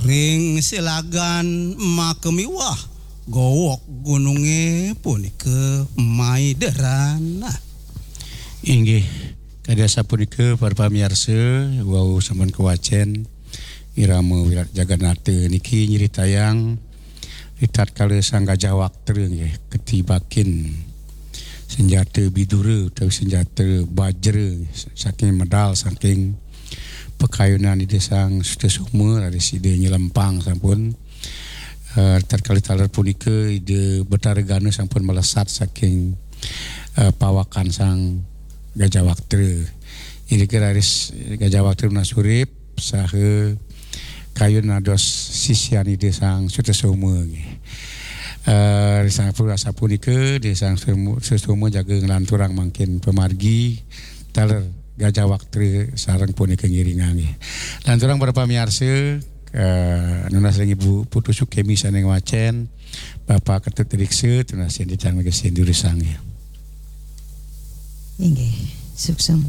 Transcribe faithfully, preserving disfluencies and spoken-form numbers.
Ring silagan makamiwah gowok gununge punika maideran. Inggih, kadi asapunika para pamiarsa, wau sampun kawacen irama Wirat Jagannatha niki nyritayang ritatkala Sang Gajah Waktra nggih katibakin senjata bidura utawi senjata bajra saking medal saking pakayunan Ida Sang Sutasoma, raris Ida nyelempang sampun. Eh, tatkala taler punika Ida Betara Gana sampun melesat saking, eh, pawakan Sang Gajah Waktra. Irika raris Gajah Waktra nunas urip saha kayun dados sisian Ida Sang Sutasoma nggih. Eh, sampun asapunika Ida Sang Sutasoma jaga nglanturang mangkin pamargi taler Gajah Waktra sareng punika ngiringang nggih. Lanturang para pamiarsa, eh, nunas ring Ibu Putu Sukemi sane ngwacen, Bapak Ketut Riksa, tunas yen titang mangkin sindu risang nggih. Inggih, suksma.